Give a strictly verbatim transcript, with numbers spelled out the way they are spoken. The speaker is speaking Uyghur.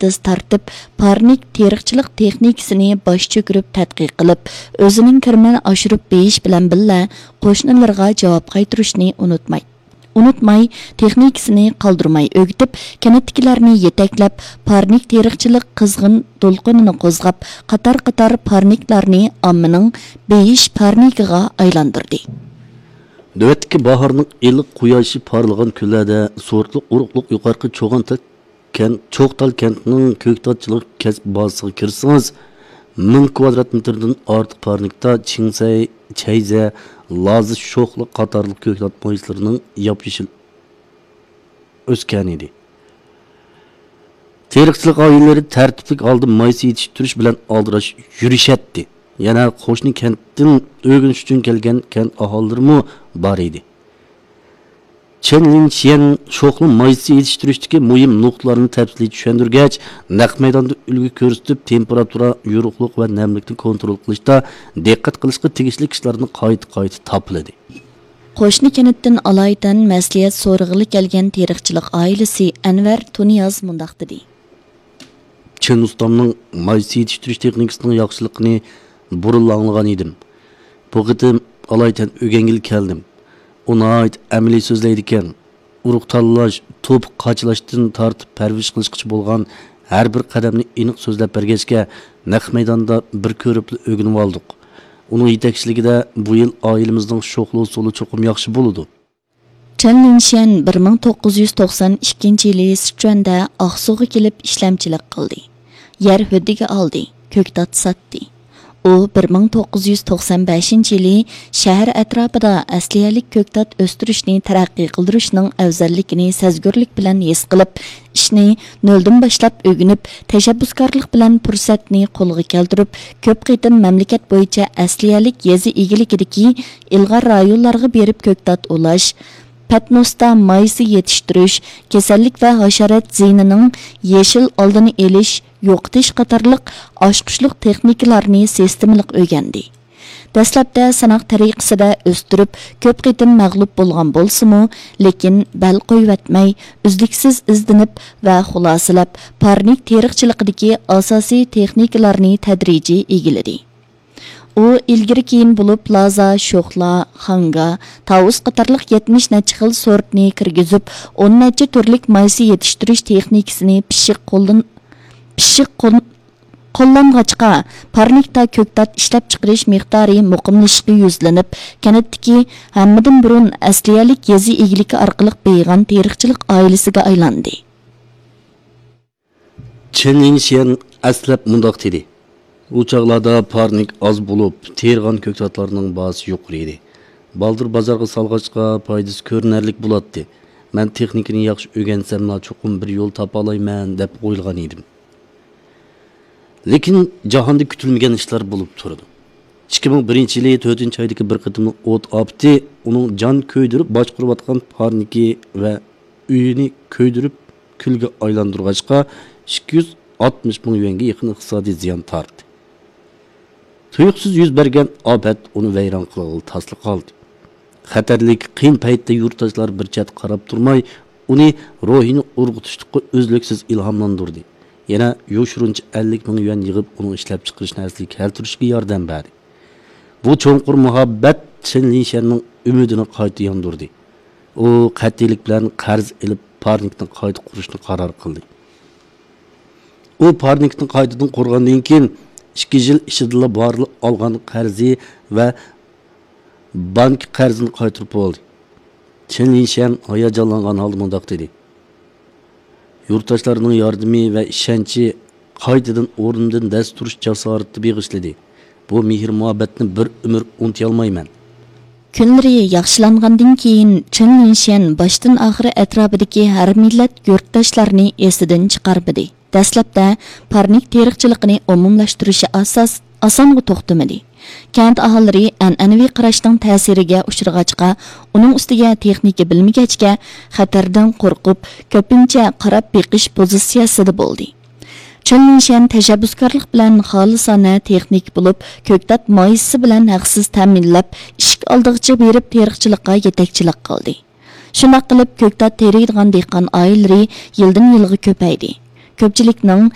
تېز تارتىپ، پارنىك تېرىقچىلىق تېخنىكىسىنى باش چۆكۈرۈپ تەتقىق قىلىپ، ئۆزىنىڭ كىرىمىنى ئاشۇرۇپ بېيىش بىلەن بىللە، قوشنىلىرىغا جاۋاب قايتۇرۇشنى ئۇنتۇماي، ئۇنتۇماي، تېخنىكىسىنى قالدۇرماي ئۆگىتىپ، كەنتتىكىلەرنى يېتەكلەپ، پارنىك تېرىقچىلىق قىزغىن دولقۇنىنى قوزغاپ، قاتار-قاتار پارنىكلارنى ئاممىنىڭ بېيىش پارنىكىغا ئايلاندۇردى. نۆۋەتتىكى باھارنىڭ ئىللىق قۇياشى پارلىغان كۈنلەردە سورتلۇق ئۇرۇقلۇق يۇقىرىقى چوغان تەك كەنت، چوغتال كەنتىنىڭ كۆكتاتچىلىق كەسىپ بازىسىغا كىرسىڭىز، مىڭ كۋادرات مېتىردىن ئارتۇق پارنىكتا چىڭسەي، چەيزە، لازا شوخلا قاتارلىق كۆكتات مايسىلىرىنىڭ ياپيېشىل ئۆسكەنىدى. تېرىقچىلىق ئائىلىلىرى تەرتىپلىك ھالدا مايسا يېتىشتۈرۈش بىلەن ئالدىراش يۈرۈشەتتى. يەنە قوشنا كەنتتىن ئۆگىنىش ئۈچۈن كەلگەن كەنت ئاھالىلىرىمۇ بار ئىدى. چېن لىنشيەن شوخلا مايسىسى يېتىشتۈرۈشتىكى مۇھىم نۇقتىلارنى تەپسىلىي چۈشەندۈرگەچ، نەق مەيداندا ئۈلگە كۆرسىتىپ، تېمپېراتۇرا، يورۇقلۇق ۋە نەملىكنى كونترول قىلىشتا دىققەت قىلىشقا تېگىشلىك ئىشلارنى قايتا-قايتا تاپىلىدى. قوشنا كەنتتىن ئالايىتەن مەسلىھەت سورىغىلى كەلگەن تېرىقچىلىق ئائىلىسى ئەنۋەر تۇنىياز مۇنداق دېدى. چىن ئۇستامنىڭ مايسا يېتىشتۈرۈش تېخنىكىسىنىڭ ياخشىلىقىنى بۇرۇنلا ئاڭلىغان ئىدىم. بۇ قېتىم ئالايىتەن ئۆگەنگىلى كەلدىم. ئۇ ناھايىتى ئەمەلىي سۆزلەيدىكەن. ئۇرۇق تاللاش، توپا قاچىلاشتىن تارتىپ پەرۋىش قىلىشقىچە بولغان ھەر بىر قەدەمنى ئېنىق سۆزلەپ بەرگەچكە، نەق مەيداندا بىر كۆرۈپلا ئۆگىنىۋالدۇق. ئۇنىڭ يېتەكچىلىكىدە بۇ يىل ئائىلىمىزنىڭ شوخلا ھوسۇلى چوقۇم ياخشى بولىدۇ. چېن لىنشيەن بىر مىڭ توققۇز يۈز توقسان ئىككىنچى يىلى سىچۈەندە ئاقسۇغا كېلىپ ئىشلەمچىلىك قىلدى. يەر ھۆددىگە ئالدى، كۆكتات ساتتى. ئۇ بىر مىڭ توققۇز يۈز توقسان بەشىنچى يىلى شەھەر ئەتراپىدا ئەسلىھەلىك كۆكتات ئۆستۈرۈشنى تەرەققىي قىلدۇرۇشنىڭ ئەۋزەللىكىنى سەزگۈرلۈك بىلەن ھېس قىلىپ، ئىشنى نۆلدىن باشلاپ ئۆگىنىپ، تەشەببۇسكارلىق بىلەن پۇرسەتنى قولغا كەلتۈرۈپ، كۆپ قېتىم مەملىكەت بويىچە ئەسلىھەلىك يېزا ئىگىلىكىدىكى ئىلغار رايونلارغا بېرىپ كۆكتات ئۇلاش، پەتنۇستا مايسا يېتىشتۈرۈش، كېسەللىك ۋە ھاشارات زىيىنىنىڭ يېشىل ئالدىنى ئېلىش، يوقىتىش قاتارلىق ئاچقۇچلۇق تېخنىكىلارنى سىستېمىلىق ئۆگەندى. دەسلەپتە سىناق تەرىقىسىدە ئۆستۈرۈپ، كۆپ قېتىم مەغلۇپ بولغان بولسىمۇ، لېكىن بەل قويۇۋەتمەي، ئۈزلۈكسىز ئىزدىنىپ ۋە خۇلاسىلەپ، پارنىك تېرىقچىلىقىدىكى ئاساسىي تېخنىكىلارنى تەدرىجىي ئىگىلىدى. ئۇ ئىلگىرى كېيىن بولۇپ لازا، شوخلا، خاڭگا، تاۋۇس قاتارلىق يەتمىش نەچچە خىل سورتنى كىرگۈزۈپ، ئون نەچچە تۈرلۈك مايسا يېتىشتۈرۈش تېخنىكىسىنى پىششىق قوللىن-، پىششىق قول-، قوللانغاچقا، پارنىكتا كۆكتات ئىشلەپچىقىرىش مىقدارى مۇقىملىشىشقا يۈزلىنىپ، كەنتتىكى ھەممىدىن بۇرۇن ئەسلىھەلىك يېزا ئىگىلىكى ئارقىلىق بېيىغان تېرىقچىلىق ئائىلىسىگە ئايلاندى. چېن لىنشيەن ئەسلەپ مۇنداق دېدى: ئۇ چاغلاردا پارنىك ئاز بولۇپ، تېرىغان كۆكتاتلارنىڭ باھاسى يۇقىرى ئىدى. بالدۇر بازارغا سالغاچقا، پايدىسى كۆرۈنەرلىك بولاتتى. مەن تېخنىكىنى ياخشى ئۆگەنسەملا، چوقۇم بىر يول تاپالايمەن، دەپ ئويلىغان ئىدىم. لېكىن جاھاندا كۈتۈلمىگەن ئىشلار بولۇپ تۇرىدۇ. ئىككى مىڭ بىرىنچى يىلى تۆتىنچى ئايدىكى بىر قېتىملىق ئوت ئاپىتى ئۇنىڭ جان كۆيدۈرۈپ باشقۇرۇۋاتقان پارنىكى ۋە ئۆيىنى كۆيدۈرۈپ كۈلگە ئايلاندۇرغاچقا، ئىككى يۈز ئاتمىش مىڭ يۈەنگە يېقىن ئىقتىسادىي زىيان تارتتى. تۇيۇقسىز يۈز بەرگەن ئاپەت ئۇنى ۋەيران قىلغىلى تاسلا قالدى. خەتەرلىك قىيىن پەيتتە يۇرتداشلار بىر چەتتە قاراپ تۇرماي، ئۇنى روھىنى ئۇرغۇتۇشلۇققا ئۈزلۈكسىز ئىلھاملاندۇردى. يەنە يوشۇرۇنچە ئەللىك مىڭ يۈەن يىغىپ، ئۇنىڭ ئىشلەپچىقىرىشىنى ئەسلىگە كەلتۈرۈشىگە ياردەم بەردى. بۇ چوڭقۇر مۇھەببەت چېن لىشەننىڭ ئۈمىدىنى قايتا ياندۇردى. ئۇ قەتئىيلىك بىلەن قەرز ئېلىپ، پارنىكنى قايتا قۇرۇشنى قارار قىلدى. ئۇ پارنىكنى قايتىدىن قۇرغاندىن كېيىن، ئىككى يىل ئىچىدىلا بارلىق ئالغان قەرزى ۋە بانكا قەرزىنى قايتۇرۇپ بولدى. چېن لىشەن ھاياجانلانغان ھالدا مۇنداق دېدى: يۇرتداشلارنىڭ ياردىمى ۋە ئىشەنچى قايتىدىن ئورنۇمدىن دەس تۇرۇش جاسارىتى بېغىشلىدى. بۇ مېھىر-مۇھەببەتنى بىر ئۆمۈر ئۇنتۇيالمايمەن. كۈنلىرى ياخشىلانغاندىن كېيىن، چېن لىشەن باشتىن-ئاخىر ئەتراپىدىكى ھەر مىللەت يۇرتداشلارنى ئېسىدىن چىقارمىدى. دەسلەپتە پارنىك تېرىقچىلىقىنى ئومۇملاشتۇرۇشى ئاساس-، ئاسانغا توختىمىدى. كەنت ئاھالىلىرى ئەنئەنىۋى قاراشنىڭ تەسىرىگە ئۇچرىغاچقا، ئۇنىڭ ئۈستىگە تېخنىكا بىلمىگەچكە، خەتەردىن قورقۇپ، كۆپىنچە قاراپ بېقىش پوزىتسىيەسىدە بولدى. چېن لىشەن تەشەببۇسكارلىق بىلەن خالىسانە تېخنىك بولۇپ، كۆكتات مايسىسى بىلەن ھەقسىز تەمىنلەپ، ئىشىك ئالدىغىچە بېرىپ تېرىقچىلىققا يېتەكچىلىك قىلدى. شۇنداق قىلىپ، كۆكتات تېرىيدىغان دېھقان ئائىلىلىرى يىلدىن يىلغا كۆپەيدى. كۆپچىلىكنىڭ